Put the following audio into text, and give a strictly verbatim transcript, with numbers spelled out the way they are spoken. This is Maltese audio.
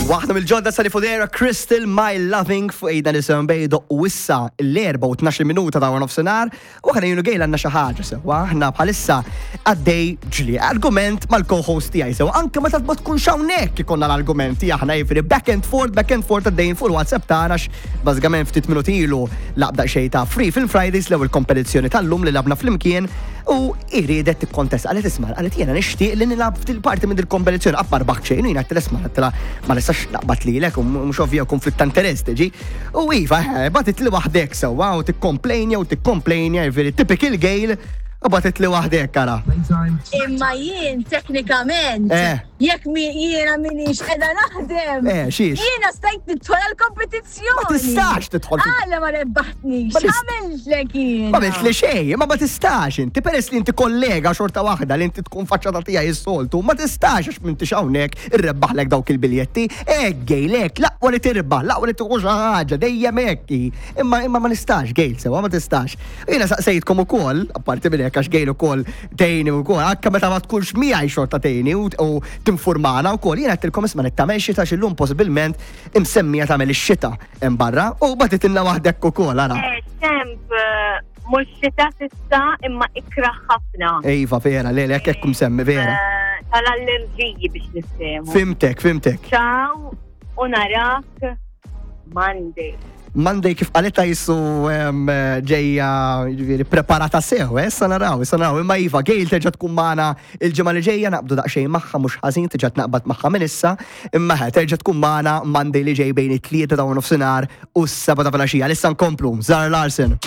Waħda mill-ġodda Sally Fodera, Crystal My Loving fuq ejda nisem bejdo u issa l-erba u tnax minuta ta' nofsinhar u aħna jien u Gail għandna xi ħaġa sewwa aħna bħalissa għaddej ġli argument mal-co-host tiegħi sewa anke meta ma tkunx hawnhekk ikollna l-argumenti aħna jiġifieri back and forth, back and forth għaddejjin fuq il-WhatsApp tagħna bażikament ftit minuti ilu lgħabna xejn ta' Free Film Fridays l-ewwel kompetizzjoni tal-lum li lgħabna flimkien u iridet tikkontesta qalet isma' qalet jiena nixtieq li nilgħab ftil parti minn il-kompetizzjoni qatt ma rbaħt xejn u jiena għedtilha isma' għedtilha ma nistax naqbad lilek u mhux ovvja konflitt ta' interess tiġi. U iva, eh, bagħtitli waħdek sewwa u tikkomplejnja u tikkomplejnja jiġifieri typical Gail u bagħtitli waħdek ara. Imma jien teknikament, Eh. jekk mi jiena minix qiegħda naħdem, Eh, xiex? jiena stajt nidħol għal-kompetizzjoni. Ma tistax tidħol fil- Għala ma rebbaħtnix, Ma tis- għamiltlek jiena. Ma għamilt li xejn, ma ma tistax inti peress li inti kollega xorta waħda li inti tkun faċċata tiegħi s-soltu, ma tistax għax m'intix hawnhekk irrebbaħlek dawk il-biljetti. Ek Gail, ek, l-aqwa li tirbaħ, l-aqwa li tuħu xi ħaġa, dejjem hekk. Imma imma ma nistax Gail sewa ma tistax. Jiena saqsejtkom ukoll, apparti minn hekk għax Gail ukoll tgħinni ukoll, anke meta ma tkunx miegħi xorta tgħinni u u tinfurmana wkoll. Jiena għedtilkom isma' nittamel xita x'illum possibilment imsemmija tagħmel ix-xita hemm barra u bagħtitilna waħdek ukoll ara. Eh, Temp, eh, mhux xita s'issa imma ikraħ ħafna. Iva, vera, le, le, hekk msemmi, vera. Eh, Tal-allerġiji biex niftehmu. Fhimtek, fhimtek. Ciao u narak Monday. Monday kif qalita jisu em, ġejja ġifieri preparata sew, eh, issa naraw, issa naraw. Imma iva, Gail terġa' tkun magħna il-ġimgħa li ġejja naqbdu daqsxejn magħha mhux ħażin terġa' tnaqbad magħha minn issa, imma ħe, terġa' tkun magħna Monday li ġej bejn it-tlieta ta' nofsinhar u s-seba ta' filgħaxija. Issa nkomplu, Zara Larsson.